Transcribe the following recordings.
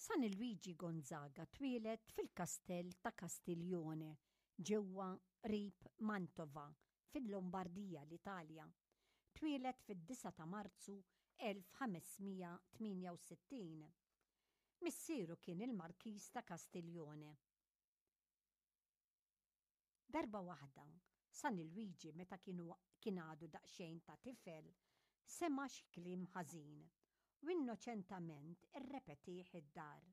San Luigi Gonzaga twieled fil-kastell ta' Castiglione ġewwa qrib Mantova fil-Lombardija, l-Italja. Twieled fid-9 ta' Marzu 1568. Missieru kien il-Markiż ta' Castiglione. Darba waħda, San Luigi meta kien għadu daqsxejn ta' tifel, sema' xi kliem ħażin u innoċentament irrepetih id-dar.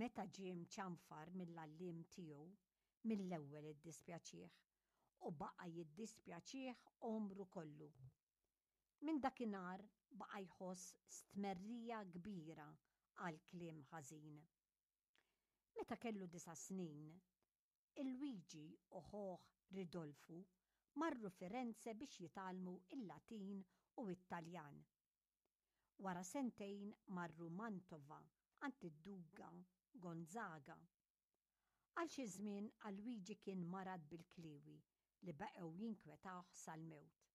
Meta ġie mċanfar mill-għalliem tiegħu, mill-ewwel iddispjaċih u baqa' jiddispjaċih għomru kollu. Minn dakinhar baqa' jħoss stmerrija kbira għall-kliem ħażin. Meta kellu disa' snin, Luigi u ħuh Ridolfu marru Firenze biex jitgħallmu l-Latin u t-Taljan. Wara sentejn marru Mantova għand id-Duga Gonzaga. Għal xi żmien Luigi kien marad bil-kliewi li baqgħu jinkwetawh sal-mewt.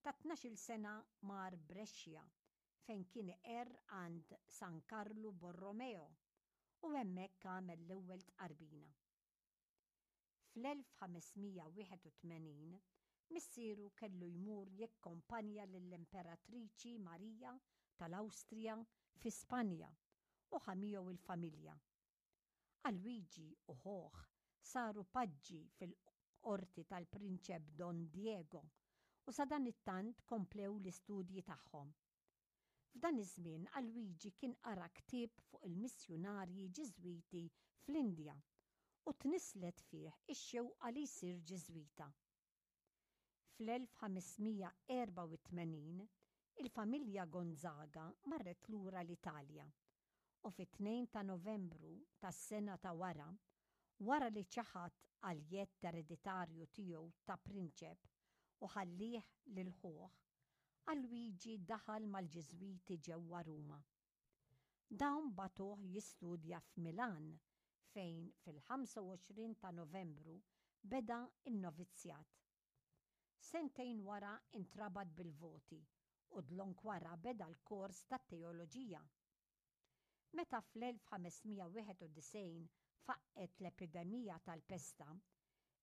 Ta' 12-il sena mar Brescia fejn kien iqerr għand San Karlu Borromeo u hemmhekk għamel l-ewwel tqarbina. Fl-1581 missieru kellu jmur jikkompanja lill-Imperatriċi Marija tal-Awstrija fi Spanja u ħa miegħu l-familja. Alwiġi u ħuh saru paġġi fil-qorti tal-Prinċep Don Diego u sadanittant komplew l-istudji tagħhom. F'dan iż-żmien Alwiġi kien qara ktieb fuq il-missjunarji Ġiżwiti fl-Indja u tnisslet fih ix-xewqa li jsir Ġiżwita. Fl-1584 il-familja Gonzaga marret lura l-Italja u fit-2 ta' Novembru tas-sena ta' wara, wara li ċaħad għall-jedd ereditarju tiegħu ta' prinċep u ħallieh lil ħuh, Alwiġi daħal mal-Ġiżwiti ġewwa Ruma. Dawn bagħtuh jistudja f'Milan fejn fil-25 ta' Novembru beda n-novizzjat. Sentejn wara intrabat bil-voti u dlonk wara beda l-kors tat-teoloġija. Meta fl-1591 faqqgħet l-epidemija tal-pesta,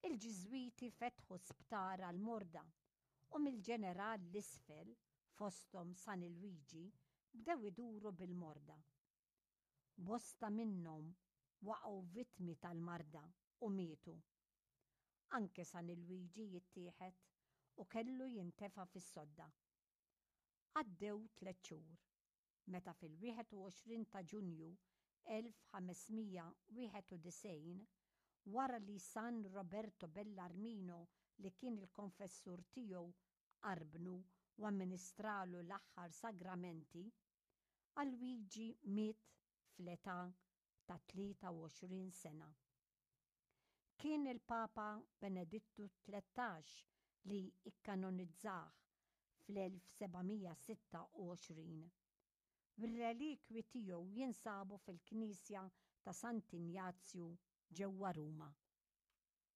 il-Ġiżwiti fetħu sptar għall-morda u mill-ġeneral 'l isfel, fosthom San Lwiġi, bdew iduru bil-morda. Bosta minnhom waqgħu vittmi tal-marda u mietu. Anke San Lwiġi jittieħed u kellu jintefa' fis-sodda. Għaddew tlett xhur, meta fil-21 ta' Ġunju 1591, wara li San Roberto Bellarmino li kien il-konfessur tiegħu qarbnu u amministralu l-aħħar sagramenti, Alwiġi miet fl-età ta' 23 sena. Kien il-Papa Benedittu 13 li ikkanonizzah fl-1726. R-relikwi tiegħu jinsabu fil-Knisja ta' Sant'Injazju ġewwa Ruma.